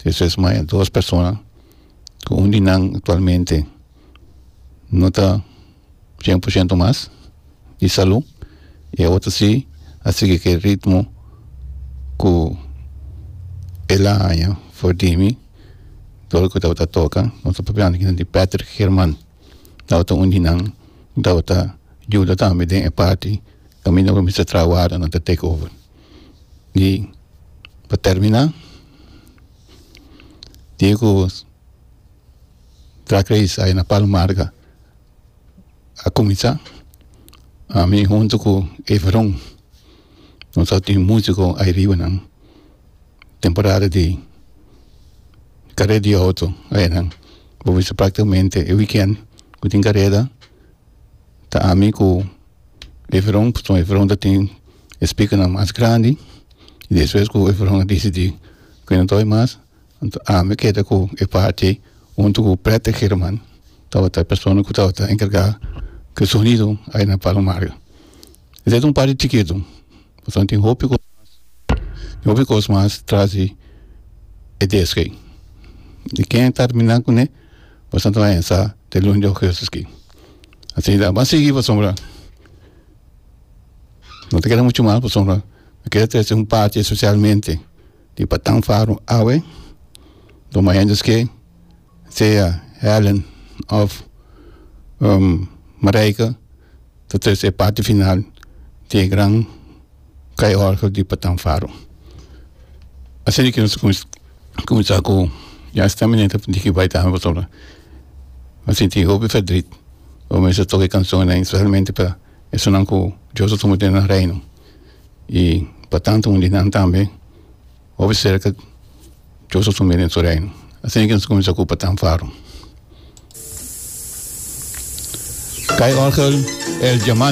Despues maya dos persona ku un di nan aktualmente no ta 100% mas di salú i e otro si a sigui ku e ritmo ku el a haña for di mi dor ku tabata toka. Nos ta papiando aki di Patrick German tabata un di nan ku tabata yuda tambe den e parti kaminda ku mester traha warda nan ta take over. I pa terminá dia ku Drag Race aya na Palo Marga a kuminsá, ami huntu ku Everon nos a tin músiko ai riba nan temporada di kareda di outo ayanan. Bo bisa práktikamente e wikènt ku tin kareda ta ami ku Everon, pasobra Everon ta tin e speakernan mas grandi y despues cu Everon a dicidi cu e no ta bay mas, anto ami keda cu e parti hunto cu Patrick Herman tabata e persona cu tabata encarga cu e sonido ahi na Palo Mario. Esey ta un parti chikito, pasobra tin hopi cos mas, tin hopi cos mas tras di e desk ey. Di ken a termina cune, boso ta bay sa te luna di augustus aki. Asina, ban sigui pasobra. No ta keda muchu mal pasobra mi kere trese un parti espesialmente di Patan Faro awe dor mi hende ske sea Helen of Marijke ta trese e parti final di e gran kai orgel di Patan Faro. Asina ki nos a kuminsá ku ya esta manera ta diki bai tambe pasobra mi a sinti hopi verdriet ora mi a toka e kanshonnan espesialmente pa Esunnan ku Dios a tuma den nan reino i pa tantu un di nan tambe hopi serka Dios a tuma den su reino. Asina ke nos kuminsá ku Patan Faro. Kai Orgel El Diamante.